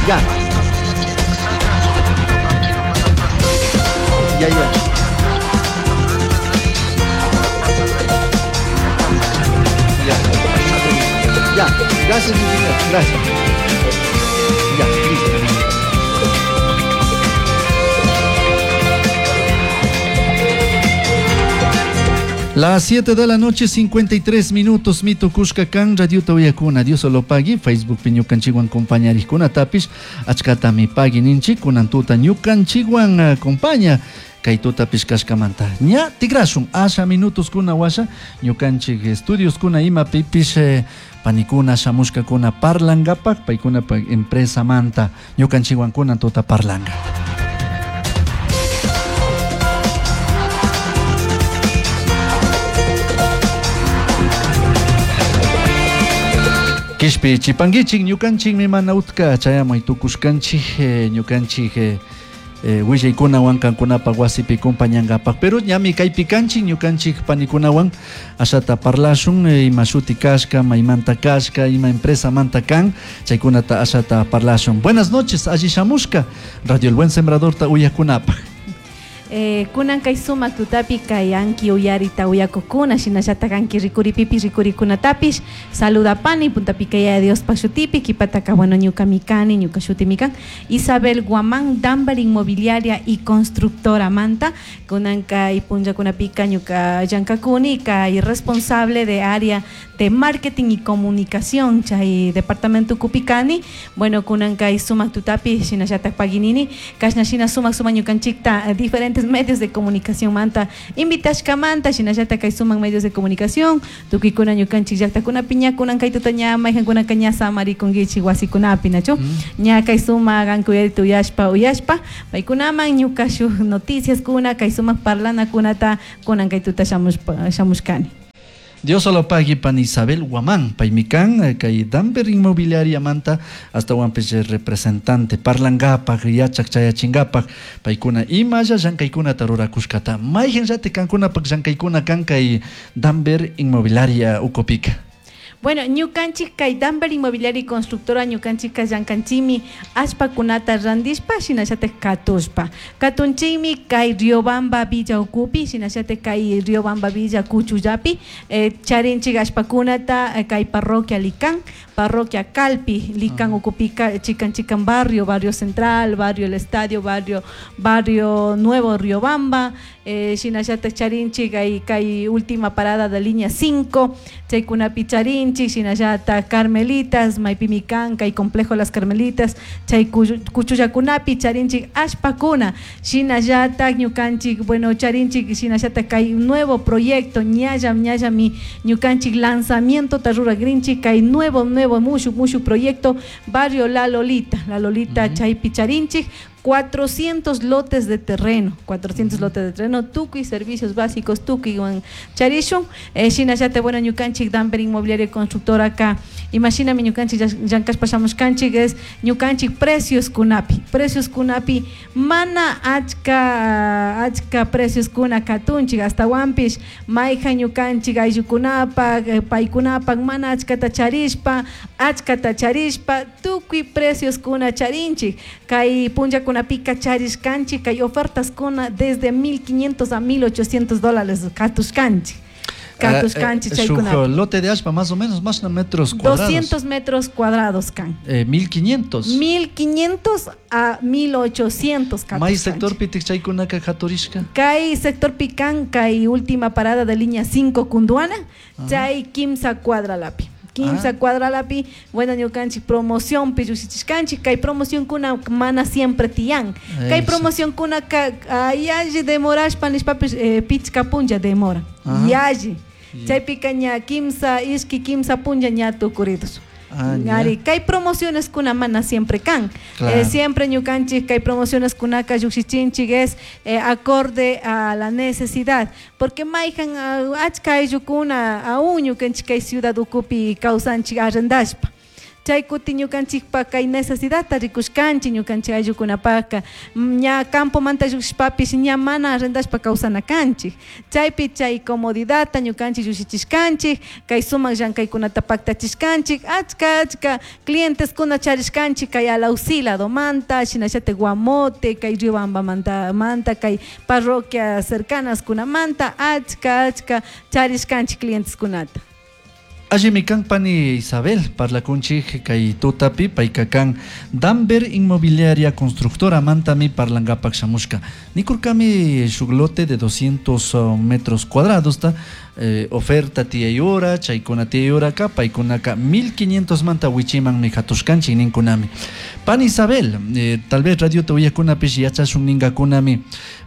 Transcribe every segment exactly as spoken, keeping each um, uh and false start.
Ya. Ya, ya. Ya. Ya, gracias, ingeniero. Gracias. Ya, listo. Las siete de la noche, cincuenta y tres minutos, mito Cuscacán, Radio Tauyacuna, Dios solo pagui, Facebook piñucanchiguan compañaricuna tapis, achkatami pagui ninchi, kunantuta ñukanchiguan acompaña, kay tutapis kashkamanta. Ña tigrashun, asha minutos kuna washa, ñukanchik estudios kuna ima pipis, eh, panikuna, shamushkakuna parlangapak, paykuna pa empresa manta, ñukanchiguan kunantuta parlanga. Kishpi chipanguichik ñukanchikmi mana utka chayamuy tukushkanchik, eh, ñukanchik, eh, eh, willaykunawan kankunapaq wasipi compañankapak, pero ñami kaypi kanchik ñukanchik panikunawan ashata parlashun, eh, ima shuti kashka, maymanta kashka, ima empresa manta kan, chaykunata ashata parlashun. Buenas noches, alli shamushka, Radio El Buen Sembrador ta uyakunapaq. Eh, kunan kay sumak tutapi kay anki uyarita uyakukuna shinallatak anki rikuripipi rikurikunatapish saludapani puntapi kay Dios pa shutipi kipataka bueno ñuka mikani ñuka shuti mikan Isabel Guamán Dambar Inmobiliaria y Constructora Manta kunan kay punllakunapika ñuka llankakuni kay responsable de área de marketing y comunicación chay departamento kupikani bueno kunan kay sumak tutapi shinallatak paginini kashna shina sumak sumak ñukanchikta diferentes medios de comunicación manta invitashka manta shinallata kay suman medios de comunicación tukikuna ñukanchik llaqtakunapi ñakunan kay tuta ña mayqankunaka ña samarikunkichik wasikunapi nachu ña kay sumak ankuyarita uyashpa uyashpa paykunaman ñuka shuk noticias kuna kay sumak parlanakunata kunan kay tuta shamushpa shamushkani. Dios solo pague pan Isabel Guamán, paimikan, kay Damber Inmobiliaria manta, hasta huampes representante, parlangapak, yachak chayachingapak, paikuna imaya llankaykuna tarurakushkata, mayhan yate kankuna pak llankaykuna kan kay Damber Inmobiliaria ukupika. Bueno, ñukanchik kay Damber Inmobiliaria y Constructora ñukanchik llankanchimi ashpakunata randishpa shinallatak katushpa. Katunchikmi kay Riobamba Villa ukupi shinallatak kay Riobamba Villa Kuchullapi, eh, charinchik ashpakunata eh, kay parroquia Licán, parroquia Calpi, Licán ukupika chikan chikan barrio, barrio central, barrio El Estadio, barrio, barrio Nuevo Riobamba, eh, shinallatak charinchik kay, kay última parada de línea cinco, chaykunapi charinchik shinallata Carmelitas, Maipimikan, kay complejo Las Carmelitas, chay kuchullakunapi charinchik ashpakuna, shinallata ñukanchik, bueno, charinchik shinallata kay nuevo proyecto, ñalla, ñalla mi ñukanchik lanzamiento taruragrinchik, kay nuevo, nuevo, mushu, mushu proyecto, barrio La Lolita, La Lolita uh-huh. Chaypi charinchik, cuatrocientos lotes de terreno, cuatrocientos uh-huh. lotes de terreno, tukuy servicios básicos, tukuy wan charishun, eh, shinallata bueno ñukanchik Damber Inmobiliaria Constructora acá, imagíname ñukanchik llankashpa shamushkanchik es ñukanchik precios kunapi, precios kunapi, mana achka, achka precios kuna katunchik, hasta wampish, mayja ñukanchik ayllukunapak, eh, paykunapak, mana achkata charishpa, achkata charishpa, tukuy precios kuna charinchik, kay punllakuna pica charishkanchik, kay ofertas kuna desde mil quinientos a mil ochocientos dólares katushkanchik. Katushkanchik uh, eh, lote de ashpa más o menos, más de metros cuadrados. doscientos metros cuadrados kan. Eh, mil quinientos. mil quinientos a mil ochocientos May sector pitik chaykunaka katurishka. Kay sector pican, kay última parada de línea cinco Kunduana, chay kimsa cuadra lapi. Quimsa ah. cuadra lapi, bueno, ñukanchik promoción pillushishkanchik, kay promoción kuna mana siempre tiyan. Kay promoción kuna ka yalli demorashpa nishpapis eh, pichka punlla demora. Yalli. Chaypika ña kimsa ishki kimsa punlla ña tukuridos. Ah, Ari, kay promociones kuna mana siempre kan. Claro. Eh, siempre ñukanchik kay promociones kunaka lluqshichinchik es eh, acorde a la necesidad, porque mayjan achka ayllukuna aún ñukanchik kay ciudad ukupi kawsanchik arrendashpa. Chay kutin ñukanchikpa kay necesidadta rikushkanchik ñukanchik ayllukunapaka ña campomanta llukshishpapish ña mana arrendashpa kawsana kanchik. Chaypi chay comodidadta ñukanchik llushichishkanchik, kay sumak llankaykunata paktachishkanchik, achka achka clienteskuna charishkanchik kay Alausí ladomanta, shinallatak Guamote, kay Riobambamanta manta, kay parroquia cercanas kunamanta, achka achka charishkanchik clienteskunata. Allimi kan pani Isabel parlakunchik kay tutapi payka kan Damber Inmobiliaria Constructora mantami parlangapak shamushka. Nikurkami shuk lote de doscientos metros cuadrados ta, eh, oferta tiyayura, chaykuna tiyayuraka, paykunaka mil quinientos manta wichimanmi hatushkanchik ninkunami. Pani Isabel, eh, tal vez radio te uyakunapish yachashun ningakunami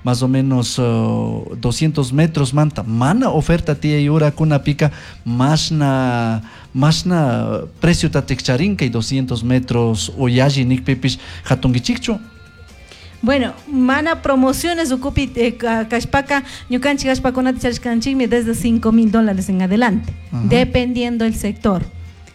más o menos uh, doscientos metros manta mana oferta tiyayura kunapika masna masna precio tatikcharinka y doscientos metros oyalli nikpipish hatunkichikchu. Bueno, mana promociones ukupi, eh, kashpaka ñukanchik ashpakunata charishkanchikmi desde cinco mil dólares en adelante, Ajá. dependiendo el sector.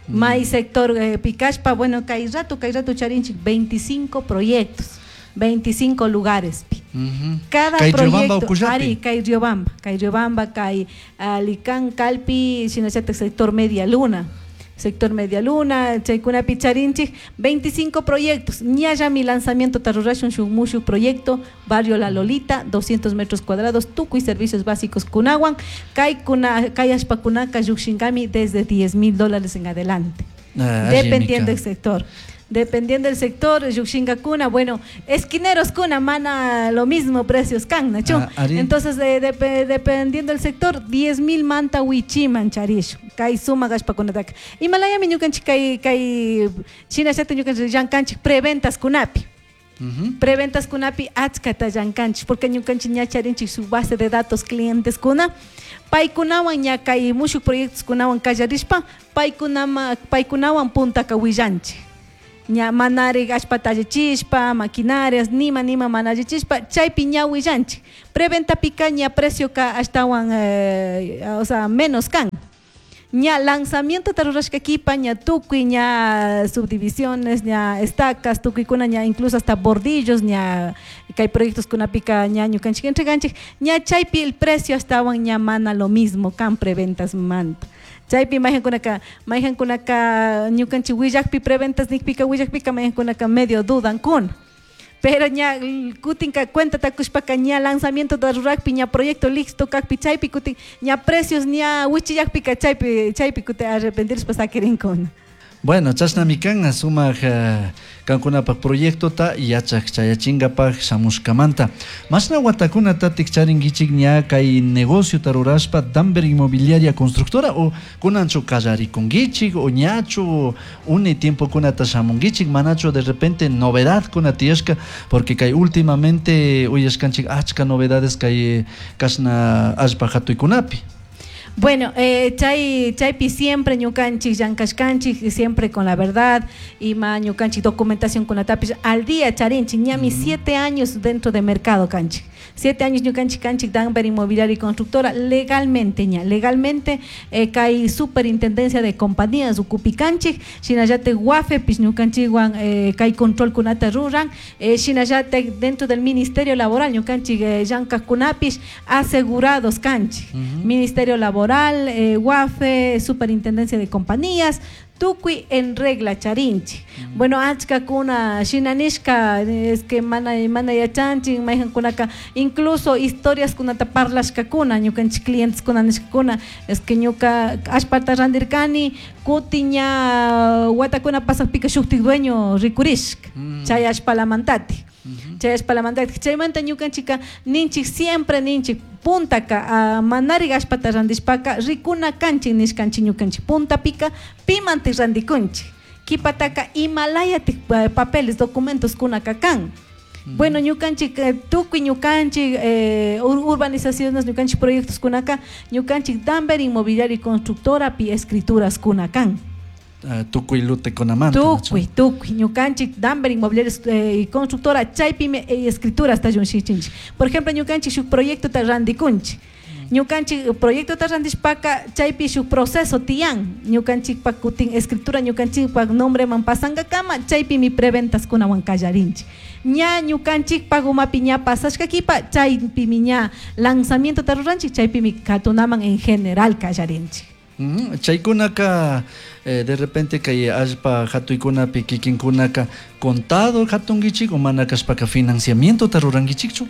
Mm. May sector, eh, pikashpa, bueno, kay rato, kay rato charinchik veinticinco proyectos, veinticinco lugares. Uh-huh. Cada Kay Riobamba proyecto, ukullapi. Ari, kay Riobamba, kay Riobamba, kay Alicán, Calpi, shinallatak sector Media Luna. Sector Media Luna, chaykunapi charinchik veinticinco proyectos. Ñalla mi lanzamiento tarurashun shuk mushuk proyecto, Barrio La Lolita, doscientos metros cuadrados, tukuy servicios básicos kunawan, kay kuna, kay ashpakunaka llukshinkami desde diez mil dólares en adelante. Ah, dependiendo allí, del sector. Dependiendo del sector, llukshinkakuna, bueno, esquineros kuna, mana lo mismo precios kan, nachu. Ah, ari. Entonces, eh, dep-, dependiendo del sector, diez mil manta wichiman charish, kay suma gashpakunataka. Himalayami ñukanchik kay, kay shinallata ñukanchik llankanchik preventas kunapi. Uh-huh. Preventas kunapi achkata llankanchik, porque ñukanchik ña charinchik su base de datos clientes kuna. Paykunawan ña kay mushuk proyectos kunawan kallarishpa, paykunama, paykunawan puntaka willanchik. Ña manari allpata allichishpa, maquinarias, nima, nima mana allichishpa, chaypi ña willanchik. Preventa pika ña precio ka ashtawan, eh, o sea, menos kan. Ña lanzamiento tarurashka kipa, ña tukuy, ña subdivisiones, ña estacas, tukuykuna, ña incluso hasta bordillos, ña kay proyectos kunapika ña ñukanchik entreganchik, ña chaypi el precio ashtawan ña mana lo mismo kan preventas manta. Chaypi mayhankunaka, mayhankunaka ñukanchik willakpi preventas nikpika willakpika mayhankunaka medio dudan kun. Pero ña kutinka cuenta takushpaka ña lanzamiento tarurakpi ña proyecto listo kakpi chaypi kutin ña precios ña wichillakpika chaypi, chaypi kutin arrepentirishpa sakirinkuna. Bueno, chashnami kan sumak, eh, kankunapak proyectota yachak chayachingapak shamushkamanta. Mashna watakunata tikcharinkichik ña kay negocio tarurashpa Damber Inmobiliaria Constructora o kunanchu kallarikunkichik o ñachu uni tiempo kunata shamunkichik manachu de repente novedad kuna tiyashka porque kay últimamente uyashkanchik achka novedades kay kashna allpa hatuykunapi. Bueno, eh, chay, chaypi siempre ñukanchik llankashkanchik, siempre con la verdad, y ma ñukanchik documentación kunatapish al día charinchik, ñami Ujú. siete años dentro de mercado kanchik. Siete años ñukanchik kanchik Damber Inmobiliaria y Constructora, legalmente ña, legalmente, eh, kay superintendencia de compañías ukupi kanchik, shinallate guafe pis ñukanchikwan, eh, kay control kunata ruran, eh, shinallate dentro del Ministerio Laboral ñukanchik, eh, llankajkunapish asegurados kanchik. Ujú. Ministerio Laboral, eh, U A F E, Superintendencia de Compañías, tukuy en regla charinchi. Mm. Bueno, achka kuna shinanishka, es que mana, mana yachanchi, mayhan kunaka, incluso historias kunata parlashka kuna, ñukanchik clientes kuna nishka kuna, es que ñuka ashpata randirkani, kuti ña watakuna pasakpika shuktik dueño rikurishka, Mm. chay ashpalamantati. Ujú. Chay ashpalamantati. Chaymanta ñukanchika ninchik siempre ninchik puntaka, ah, manari ashpata randishpaka rikuna kanchik nishkanchik ñukanchik puntapika pimantik randikunchik kipataka imalayatik, eh, papeles documentos kunaka kan. Ujú. Bueno, ñukanchik, eh, tukuy ñukanchik, eh, ur-, urbanizaciones ñukanchik proyectos kunaka ñukanchik Damber Inmobiliaria y Constructora pi escrituras kuna kan. Ah, tukuy lute kunamanta, Tukuy, ¿no? tukuy, ñukanchik Damber Inmobiliaria, eh, y Constructora chaypimi, eh, escrituras ta llunshinchinchik. Por ejemplo, ñukanchik shuk proyecto ta randikunchik. Ñukanchik proyectota randishpaka chaypi shuk proceso tiyan ñukanchikpak kutin escritura ñukanchikpak nombreman pasankakama chaypimi preventaskunawan kallarinchik. Ña ñukanchikpak umapi ña pasashka kipa chaypimi ña lanzamientota ruranchik chaypimi katunaman en general kallarinchik. Mm, chaykunaka eh, de repente kay allpa hatuykunapi kikinkunaka contado hatunkichik o mana kashpaka financiamientota rurankichikchu?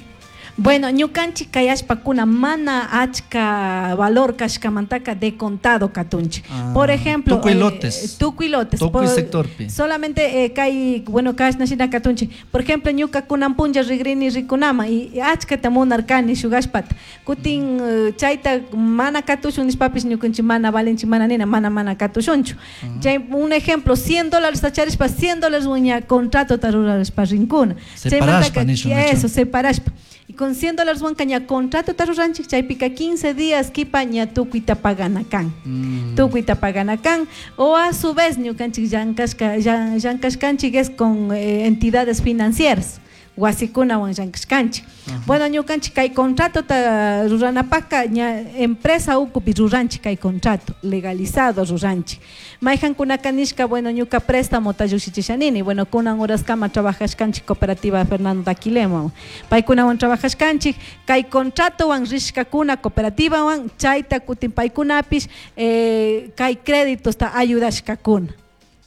Bueno, ñukanchik kay allpakuna mana achka valor kashkamantaka de contado katunchik. Ah, Por ejemplo, tukuy eh, lotes. tukuy lotes. Tukuy Por- sectorpi. Solamente eh, kay, bueno, kashna shina katunchik. Por ejemplo, ñuka kunan punlla rigrini rikunama y achkata munarkani shuk allpata. Kutin eh, chayta mana katushun nishpapish ñukanchik mana valenchik mana nina, mana mana katushunchu. Chay, un ejemplo, cien dólares charishpa, cien dólares ña contratota rurashpa rinkuna. Separashpa Chaymantaka, nishun, nachu? eso, separashpa. Y con cien dólares wanka ña contrato ruranchik chaypika quince días kipa ña tukuyta pagana kan. Mm. Tukuyta pagana kan. O a su vez ñukanchik llankashka, llan-, llankashkanchik es con, eh, entidades financieras. Wasikunawan llankashkanchik. Bueno, ñukanchik kay contratota ruranapaka ña empresa ukupi ruranchik kay contrato legalizado ruranchik. Mayhankunaka nishka, bueno, ñuka préstamo ta llushichishanini. Bueno, kunan horaskama trabajashkanchik cooperativa Fernando Daquilema. Paykunawan trabajashkanchik kay contratowan rishkakuna cooperativawan chayta kutin paykunapish, eh, kay créditosta ayudashkakuna.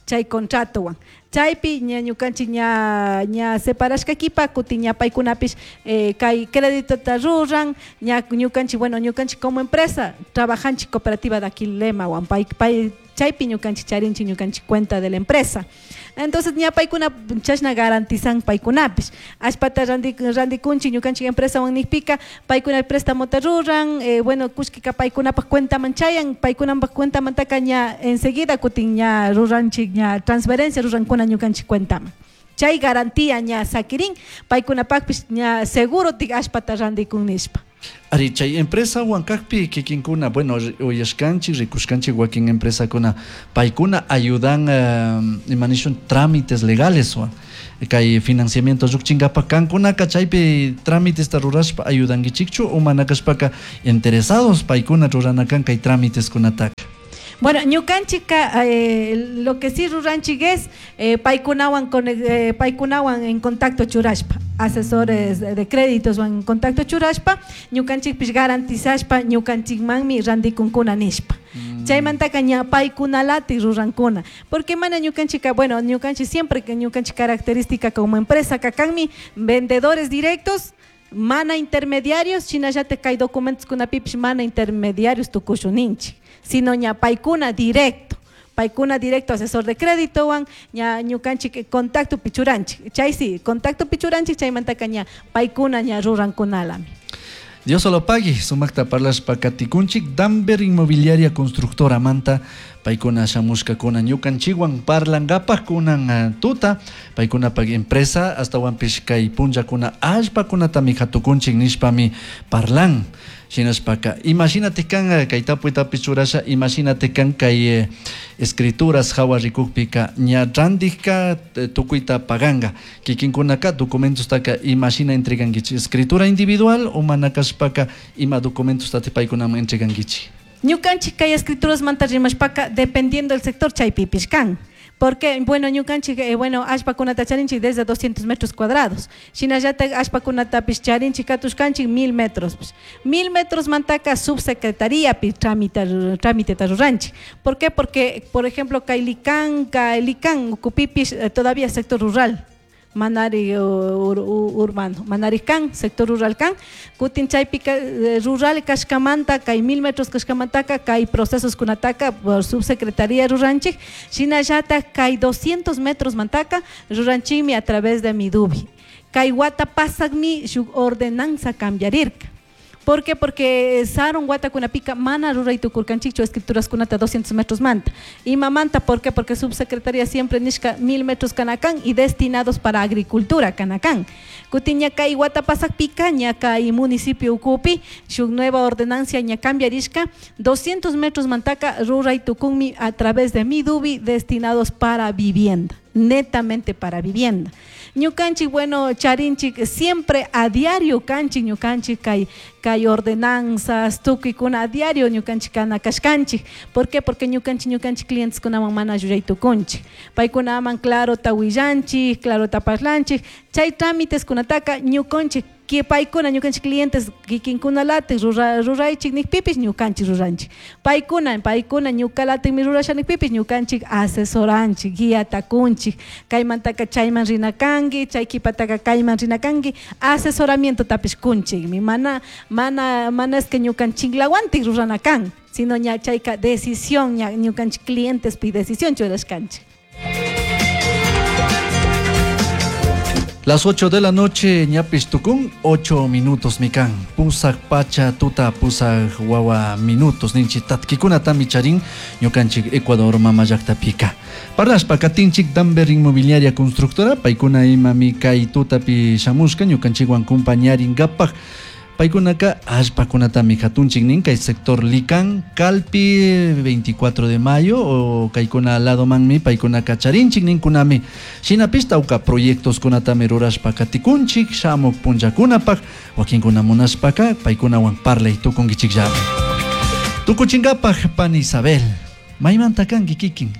Chay contratowan. Chaypi ña ñukanchik ña, ña separashka kipa kutin ña paykunapish, eh, kay créditota ruran, ña ñukanchik, bueno, ñukanchik como empresa trabajanchik cooperativa Daquilemawan, pay, pay, chaypi ñukanchik charinchik ñukanchik cuenta de la empresa. Entonces ña paykuna chashna garantizan paykunapish. Allpata randi-, randikunchik ñukanchik empresawan nikpika paykuna préstamo ta ruran, eh, bueno, kushkika paykunapak cuentaman chayan, paykunapak cuentamantaka ña enseguida kutin ña ruranchik ña transferencia rurankuna ñukanchik cuentaman. Chay garantía ña sakirin, paykunapakpish ña seguro tik allpata randikun nishpa. Ari, chay empresa huancacpi kikinkuna, bueno, ri-, uyashkanchik, rikushkanchik wakin empresakuna, paykuna ayudan, eh, imanishun trámites legales, wa, kay financiamiento lluqchinkapa kankunaka chaypi trámites ta rurashpa ayudankichikchu o mana kashpaka interesados paykuna ruranakan kay trámites kunataka. Bueno, ñukanchika, eh, lo que sí ruranchik es, eh, paykunawan con, eh, paykunawan en contacto churashpa, asesores de créditos en contacto churashpa, ñukanchikpish garantizashpa ñukanchikmanmi randikunkuna nishpa. Mm. Chaymantaka ña paykunalati rurankuna, porque mana ñukanchika, bueno, ñukanchik siempre que ñukanchik característica como empresa kakanmi vendedores directos, mana intermediarios, shinallate kay documentos kunapipish mana intermediarios tukushuninchik, sino ña paykuna directo, paykuna directo asesor de crédito wan, ña ñukanchik contacto pichuranchik, chay sí, contacto pichuranchik, chaymantaka ña paykuna ña rurankunalami. Dios solo pague, sumakta parlashpa katikunchik, Damber Inmobiliaria Constructora Manta, paykuna shamushkakuna ñukanchikwan parlankapaj kunan, eh, tuta, paykunapaj empresa, hasta wanpish kay punllakuna allpakunatami hatukunchik nishpami parlan. Shinashpaka, imagínate kan, eh, kay tapuytapish churasha, imagínate kan kay, eh, escrituras hawa rikukpika, ña randijka, eh, tukuyta paganga. Kikinkunaka documentostaka imagina entregankichik, escritura individual o mana kashpaka ima documentostati paykunaman entregankichik. Ñukanchik kay escrituras manta rimashpaka, dependiendo del sector chaypipish kan. Porque, bueno, ñukanchik, eh, bueno, allpakunata charinchik desde doscientos metros cuadrados. Shinallata allpakunatapish charinchik katushkanchik mil metros. Mil metros mantaka subsecretaría pi trámite, trámite ruranchik. ¿Por qué? Porque, por ejemplo, Kailicán, Kailicán, Ucupipish, eh, todavía sector rural. Manari, ur, ur, urbano, Manari kan, sector rural kan, kutin chaypika, eh, rural kashkamanta, kay mil metros kashkamantaka, kay procesos kunataka por subsecretaría ruranchik, shinallata kay doscientos metros mantaka, ruranchikmi a través de Midubi. Kay wata pasakmi shuk ordenanza cambiarirka. ¿Por qué? Porque saron wata kunapika mana ruray tukurkanchikchu escrituras kunata doscientos metros manta. Y mamanta, ¿por qué? Porque subsecretaría siempre nishka mil metros kanakán y destinados para agricultura kanakán. Kutiña kay wata pasakpika, ña kay municipio ukupi, shuk nueva ordenancia ña cambiarishka, doscientos metros mantaka ruray tukunmi a través de Midubi destinados para vivienda. Netamente para vivienda. Ñukanchik, bueno, charinchik siempre a diario kanchik ñukanchik kay kay ordenanzas tukuykuna a diario ñukanchik kana kashkanchik. ¿Por qué? Porque ñukanchik ñukanchik clientes kunaman mana llullay tukunchik. Paykunaman clarota willanchik, clarota parlanchik. Chay trámites kunataka ñukanchik que paykuna ñukanchik clientes kikinkunalatik rura ruraychik nikpipis ñukanchik ruranchik. Paykuna paykuna ñukalatikmi rurasha nikpipis ñukanchik asesoranchik, guiata kunchik, kaymantaka chayman rina kanki, chay kipataka kayman rina kanki, asesoramiento tapish kunchikmi. Mana mana mana es que ñukanchiklawantik rurana kan, sino ña chayka decisión ña ñukanchik clientes pi decisión churashkanchik. Las ocho de la noche, ñapis tukun, ocho minutos mikan. Pusak pacha tuta pusak wawa minutos. Ninchi tatkikuna tami charin, ñukanchik Ecuador mama llaqtapika. Parlashpa katinchik Damber Inmobiliaria Constructora, paykuna imami kay tutapi shamushka, ñukanchikwan kumpañarinkapak. Paykunaka allpakunatami hatunchik nin kay sector Licán, Calpi, veinticuatro de mayo o kaykuna ladomanmi paykunaka charinchik ninkunami. Shinapish tawka proyectos kunatami rurashpa katikunchik shamuk punllakunapaq wakinkuna munashpaka paykunawan parlay tukunkichikllami. Tukuchinkapaq pani Isabel, maymanta kanki kikin?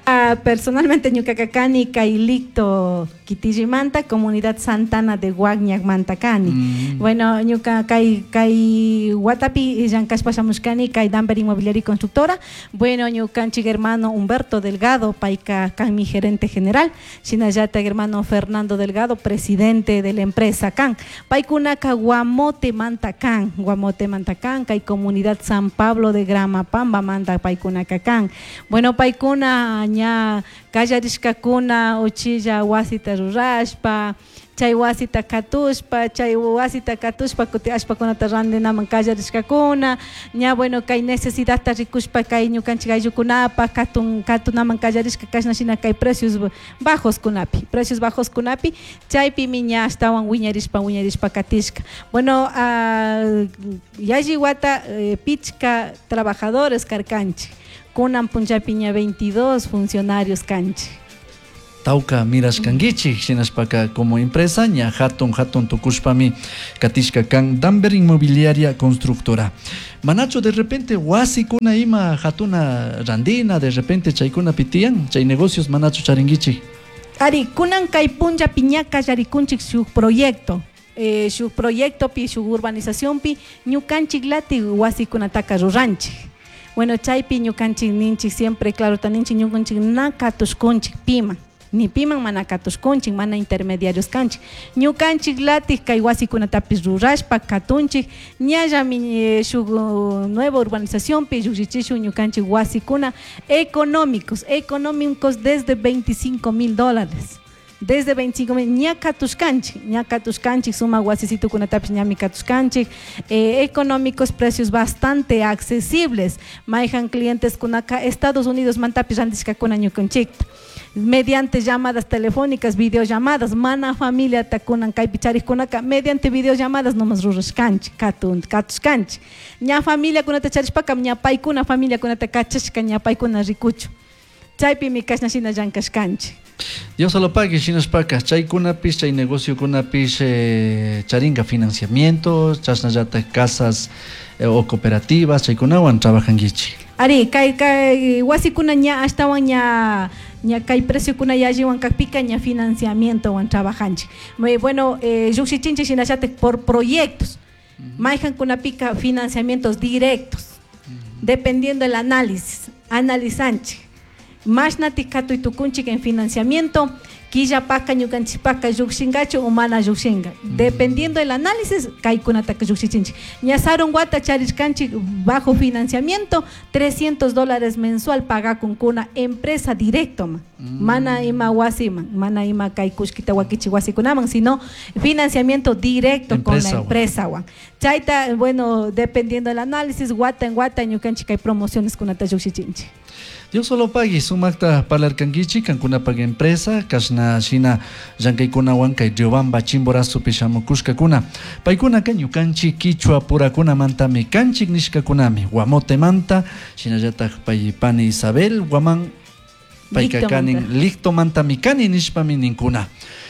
Uh, personalmente ñuka kani kay Licto kitillimanta, comunidad Santana de Guagñacmanta kani. Mm. Bueno, ñuka kay kay watapi llankashpa shamushkani kay Damber Inmobiliaria y Constructora. Bueno, ñukanchik hermano Humberto Delgado, payka kan mi gerente general, shinallata hermano Fernando Delgado, presidente de la empresa kan. Paykunaka Guamote manta kan, Guamote manta kan, kay comunidad San Pablo de Gramapamba manta paykunaka kan. Bueno, paykuna ña kallarishkakuna uchilla wasita rurashpa, chay wasita katushpa, chay wasita katushpa kuti allpakunata randinaman kallarishkakuna, ña bueno kay necesidadta rikushpa kay ñukanchik ayllukunapaq katun katunaman kallarishka kashna shina kay precios bajos kunapi, precios bajos kunapi, chaypimi ña ashtawan wiñarishpa wiñarishpa katishka. Bueno, uh, yalli wata eh, pichka trabajadores karkanchik. Kunan punllapi ña veintidós funcionarios kanchik. Tawka mirashkankichik shinashpaka como empresa ña hatun hatun tukushpami katishka kan Damber Inmobiliaria Constructora. Manacho de repente wasikuna ima hatuna randina de repente chaykuna pitiyan chay negocios manacho charinkichik. Ari kunan kay punllapi ña kallarikunchik shuk proyecto. Eh, shuk proyectopi shuk urbanizacionpi ñukanchik lati wasikunataka ruranchik. Bueno, chaypi ñukanchik ninchik siempre claro taninchik ñukanchik na katushkunchik piman, ni piman mana katushkunchik, mana intermediarios kanchik. Ñukanchik latik kay wasikunatapis rurashpa katunchik, ñallami eh, shuk nueva urbanizacionpi llukshichishun ñukanchik wasikuna económicos, económicos desde veinticinco mil dólares. Desde veinticinco mil, ña katushkanchik, ña katushkanchik, suma wasisitukunatapis ñami katushkanchik, eh, económicos, precios bastante accesibles. Mayhan clientes kunaka Estados Unidos mantapis randishkakuna ñukanchikta. Mediante llamadas telefónicas, videollamadas, mana familia takunan kaypi charikkunaka, mediante videollamadas nomás rurashkanchik, katun, katushkanchik. Ña familia kunata charishpaka, ña paykuna familia kunata kachashka, ña paykuna rikuchu. Chaypimi kashna shina llankashkanchik. Dios lo pague, shinashpaka, chaykunapis, chay negociokunapis, eh, charinga financiamiento, chashnallata casas eh, o cooperativas, chaykunawan trabajankichik. Ari, kay kay wasikuna ña ashtawan ña ña kay preciokuna yalliwan kakpika ña financiamientowan trabajanchik. Muy bueno, eh, lluqshichinchik shinallatak por proyectos. Mayhankunapika financiamientos directos, uh-huh. Dependiendo del análisis, analizanchik. Mashnati katuy tukunchik en financiamiento, quillapaka ñukanchikpaka llukshinkachu o mana llukshinka. Mm. Dependiendo del análisis, kaykunataka llukshinchik. Ña sarun wata charishkanchik bajo financiamiento, trescientos dólares mensual pagakunkuna empresa directo ma. Mm. Mana ima wasiman, mana ima kay kushkita wakichi wasikunaman, sino financiamiento directo empresa, con la empresa wan. Chayta, bueno, dependiendo del análisis, wata en wata ñukanchik kay promociones kunata llukshinchik. Dios solo pague, sumakta parlarkankichik, kankunapaq empresa, kashna shina llankaykunawan kay Riobamba Chimborazopi shamukushkakuna. Paykunaka ñukanchik kichwa purakunamantami kanchik nishkakunami, Guamotemanta, shinallatak pay pani Isabel, Guamán Payka kanin Lictomantami kani nishpami ninkuna.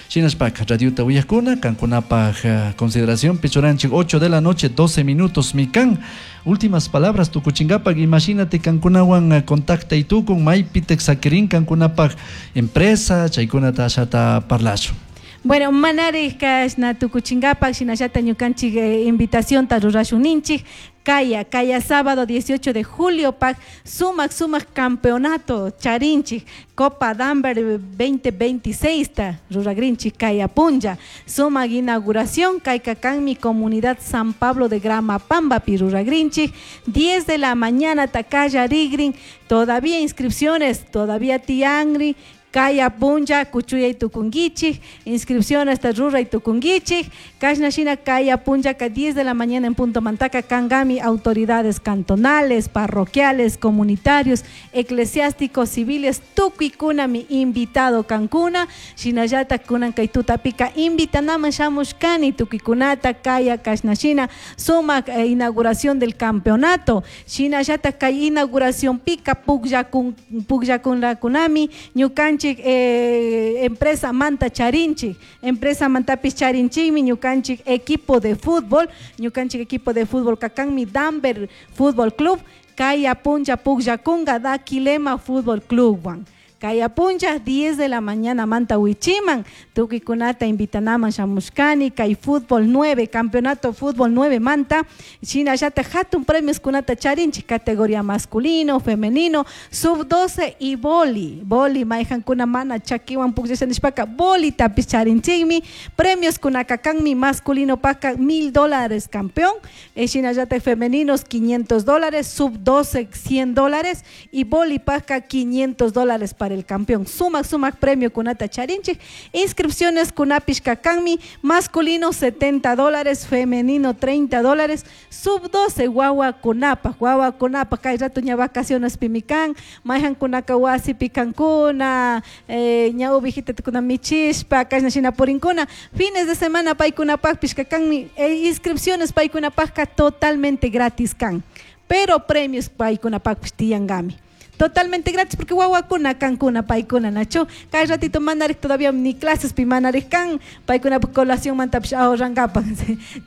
Shinashpaka radiota uyakuna kankunapaj consideración pichuranchik ocho de la noche doce minutos mikan. Últimas palabras tukuchinkapak imagínate kankunawan contacta y tukun maypitek sakirin kankunapaj empresa chaykunata ashata parlashun. Bueno, manari kashna tukuchinkapak shinallata ñukanchik eh, invitación ta rurashun ninchik. Kaya, kaya sábado dieciocho de julio pak sumak sumak campeonato charinchik Copa Damber veinte veintiséis ta ruragrinchik kaya punlla sumak inauguración kayka kanmi comunidad San Pablo de Gramapamba pi ruragrinchik diez de la mañana takaya rigrin todavía inscripciones todavía tiangri Kaya punlla kuchuyay tukunguichik, inscripción hasta ruray tukunguichik, kashna shina kaya punlla ka diez de la mañana en punto mantaca kangami autoridades cantonales, parroquiales, comunitarios, eclesiásticos, civiles, tukuikunami invitado kankuna, shinallata kunan kay tutapika invitanama shamushkani tukuikunata kaya kashna shina sumak, eh, inauguración del campeonato, shinallata kay inauguración pika pukllakun, pukllakunlakunami ñukanchik Eh, empresa Manta Charinchik, empresa Mantapis Charinchikmi, ñukanchik equipo de fútbol, ñukanchik equipo de fútbol kakanmi Damber Fútbol Club, Kaya Puncha Pukllakunga Daquilema Fútbol Club wan. Kaya puncha diez de la mañana Manta Huichiman, tukikunata invitanaman shamushkani, kay fútbol nueve, campeonato fútbol nueve Manta, shinallata hatun premios kunata charinchik, categoría masculino, femenino, sub doce y boli, boli maijankuna mana chakiwan pukllashanishpaka, boli tapis charinchikmi, premios kunakakanmi masculino paka mil dólares campeón, eh, shinallata femeninos quinientos dólares, sub doce cien dólares y boli paka quinientos dólares para el campeón. Sumac, sumac premio kunata charinchik. Inscripciones kunapish kakanmi, masculino setenta dólares, femenino treinta dólares, sub doce guagua kunapa, guagua kunapa, kay rato ña vacaciones pimikan, mayhan kunaka wasi pikankuna, eh, ña ubijita kuna michishpa, kashna shina purinkuna, fines de semana paykunapakpish kakanmi, eh, inscripciones paykunapakka totalmente gratis kan, pero premios paykunapakpish tiyangami. Totalmente gratis porque guaguacuna, cancuna, paicuna, nacho. Cada ratito manarik todavía ni clases pi manarik can, paicuna colación mantapish ahorrangapa.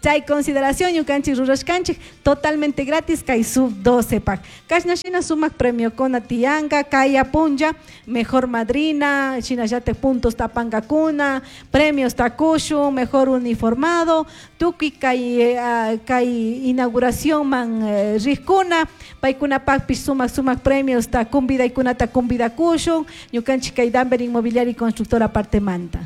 Chay consideración, ñukanchik rurashkanchik, totalmente gratis, kay sub doce pak. Kashna shina sumak premio kona tianga, kaya punja, mejor madrina, shina yate puntos tapangakuna, premios takushu, mejor uniformado, tuki kay, eh, kay inauguración man, eh, rikuna, paicuna pakpish sumak sumak premios ta kumbida y kunata kumbida kushun, ñukanchik kay Damber Inmobiliaria y Constructora parte manta.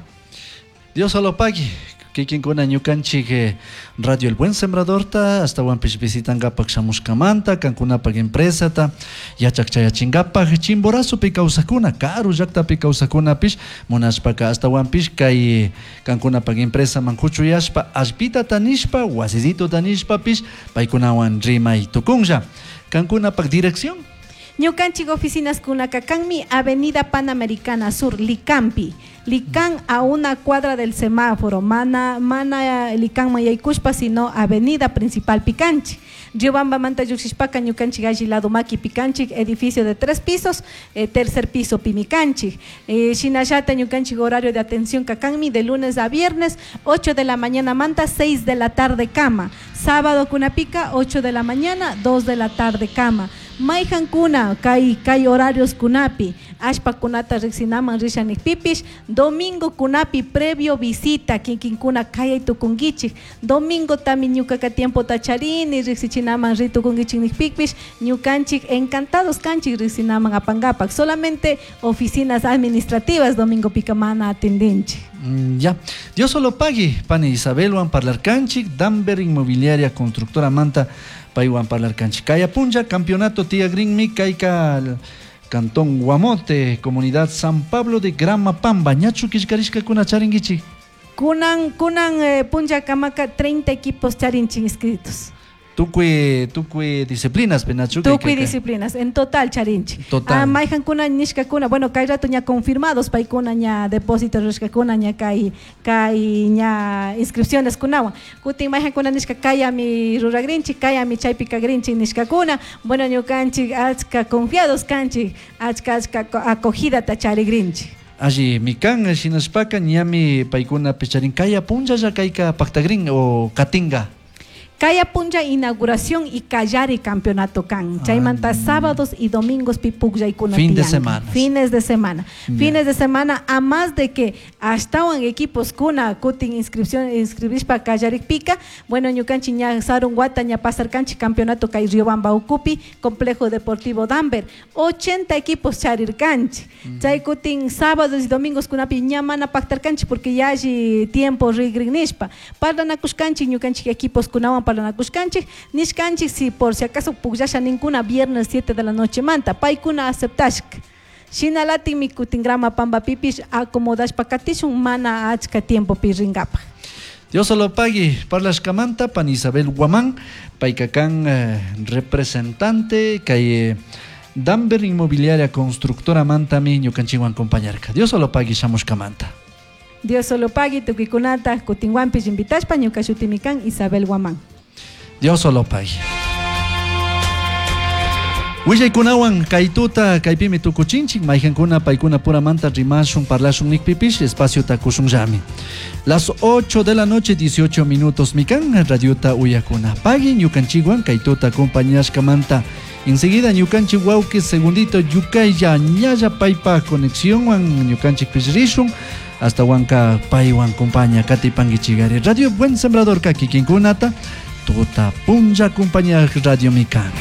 Dios lo pague. Kikinkuna ñukanchik, eh, Radio El Buen Sembradorta, hasta Huampish visitangapak shamushkamanta, kankunapak empresata, yachak chayachingapak, Chimborazopi kawsakuna, karu llaktapi kawsakunapish, munashpaka hasta Huampish kay kankunapak empresa mankuchuyashpa, allpita tanishpa, wasisito tanishpapish, paykunawan rimay tukunlla. Kankunapak dirección. Ñukanchik oficinas kunakakanmi, Avenida Panamericana Sur, Licampi. Licán a una cuadra del semáforo, mana, mana Licán mayaykushpa, sino Avenida Principal Picanchi. Riobamba manta lluqshishpaka ñukanchik alli lado maki picanchik, edificio de tres pisos, eh, tercer piso pimicanchik. Eh, shinallata ñukanchik horario de atención kakanmi de lunes a viernes, ocho de la mañana manta, seis de la tarde cama. Sábado kunapica, ocho de la mañana, dos de la tarde cama. Mayhan kuna, kay, kay horarios kunapi, ashpa kunata riqsinaman rishanik pipish, domingo kunapi previo visita, kinkinkuna kayay tukunkichik, domingo tami ñukaka tiempo tacharini, riqsichinaman ritukunkichik nikpipish, ñukanchik encantados kanchik riqsinaman apangapak, solamente oficinas administrativas domingo pica mana atendinchik. Mm, ya, Dios solo pague, pani Isabelwan parlarkanchik, Damber Inmobiliaria Constructora Manta, paywan parlarkanchik. Kaya punlla, campeonato Tía Green Kayka, Cantón Guamote, Comunidad San Pablo de Gramapamba, ñachu killkarishka kuna charinguichik. Kunan, kunan, eh, punlla kamaka treinta equipos charinchik inscritos. Tukuy tukuy disciplinas penachu Tukuy disciplinas en total charinchik. Total. Ah, mayhankuna nishkakuna, bueno, kay rato ña confirmados paykuna ña depósito rurashkakuna ña kay kay ña inscripciones kunawan. Kutin mayhankuna nishka kayami ruragrinchik, kayami chaypi kagrinchik nishkakuna. Bueno, ñukanchik achka confiados kanchik, achka achka acogidata charigrinchik. Alli mikan shinashpaka ñami paykuna picharin kaya punchalla kayka paktagrin o katinga. Kaya puncha inauguración y kallari campeonato kan. Chaymanta sábados y domingos pi pukllaykuna Fin de tiyanka. semana. Fines de semana. Ya. Fines de semana, a más de que ashtawan equipos kuna kutin inscripción inscribishpa kallarikpika, bueno, ñukanchik ña sarun wata ña pasarkanchik campeonato kay Riobamba ukupi, Complejo Deportivo Damber, ochenta equipos charirkanchik. Chay kutin sábados y domingos kunapi ña mana pactarkanchik porque yalli tiempo rigrinishpa. Parlanakushkanchik ñukanchik equipos kunawan parlanakushkanchik, nishkanchik si por si acaso pukllasha ninkuna viernes siete de la noche manta, paykuna aceptashka. Shinalatinmi kutin grama pambapipish acomodashpa katishun mana achka tiempo pi ringapaj. Dios lo pague, parlashkamanta pan Isabel Guamán, paykakan eh, representante kay eh, Damber Inmobiliaria Constructora mantami ñukanchikwan compañarka. Dios lo pague shamushkamanta. Dios lo pague, tukuykunata kutinwanpish invitashpa ñuka shutimi kan Isabel Guamán. Dios lo pague. Willaykunawan kaytuta kaypimi tukuchinchik mayhankuna paykuna puramanta rimashun parlashun nikpipish espacio takushunllami. Las ocho de la noche dieciocho minutos mikan radiota uyakuna. Pagui ñukanchikwan kaytuta acompañashkamanta. Enseguida ñukanchik wawki segundito yukaylla ñalla paypa conexiónwan ñukanchik pishrishun. Hasta wanka paywan compaña katipankichigari. Radio Buen Sembrador kakikinkunata tuta punlla compañía Radio Mikan.